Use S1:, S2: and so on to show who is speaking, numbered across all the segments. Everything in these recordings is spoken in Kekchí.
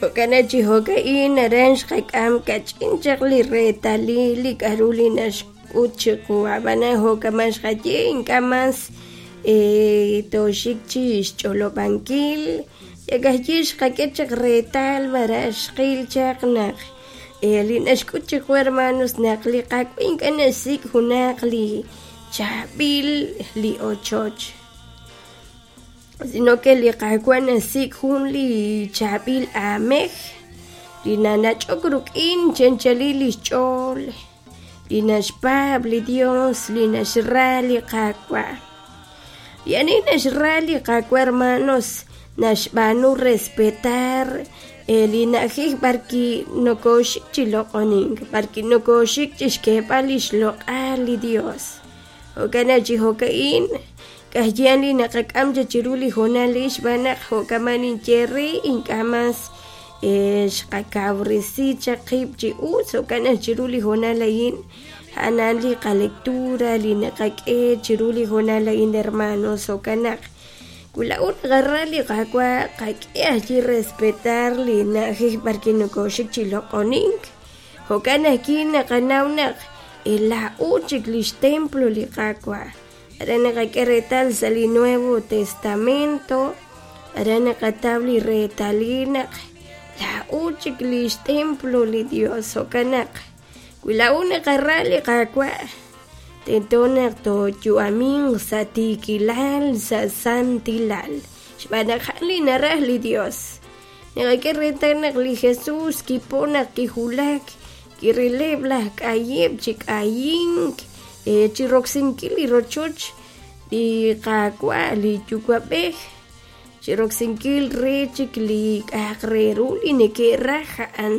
S1: Jo'kan chi jo'ka'in aran xqak'am kach'in chaq li reetalil li k'a'ru li naxk'ut chiqu ab'anan jo'kaman xqaye ink'a' mas tooxik chi xch'olob'ankil yakajyi xqak'e chaq reetal maraj xqil chaq naq li naxk'ut chiqu hermanos naq li Qaawa' ink'a' naxsik' junaq li chaab'il li ochoch sino que li Qaawa' naxsik' jun li chaab'il aamej li nanach'ok ruk'in chi anchalil lix ch'ool li naxpaab' li Dios li naxra li Qaawa'. Li ani naxra li Qaawa' hermanos naxb'aanu respetar li na'ajej b'arwi' nokoxik chi loq'onink, b'arwi' nokoxik chi xk'eeb'al li xloq'al li Dios. Jo'kan naq chi jo'ka'in k'ajyan li naqak'am chaq chiru li hoonal a'in xb'aan naq jo'kaman ninye re ink'a' mas xqakawresi chaq qib' chi us jo'kan naq chiru li hoonal a'in a'an li qalectura li naqak'e chiru li hoonal a'in hermanos jo'kan naq wi laa'o naqara li Qaawa' qak'e ajwi' respetar li na'ajej b'arwi' nokoxik chi loq'onink jo'kan ajwi' naqanaw naq laa'o chik li xtemplo li Qaawa' aran naqak'e reetal sa' li Nuevo Testamento aran naqataw li reetalil naq laa'o chik li xtemplo li Dios jo'kan naq wi laa'o naqara li Qaawa' tento naq tooyu'aminq sa' tiikilal sa' santilal xb'aan naq a'an li naraj li Dios naqak'e reetal naq li Jesús kipo naq kiwulak kirileb' laj k'ayib' chi k'ayink chi roksinkil li rochoch li Qaawa' li Yuwa'b'ej chi roksinkil re chik li k'a'aq re ru li neke'raj a'an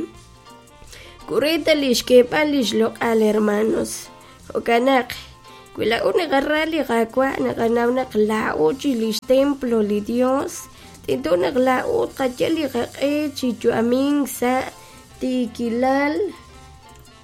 S1: kureeta li xk'eeb'al li xloq'al hermanos jo'kan naq wi laa'o naqara li Qaawa' naqanaw naq laa'o chi li xtemplo li Dios tento naq laa'o tqayal li qaq'e chi yu'amink sa' tiikilal.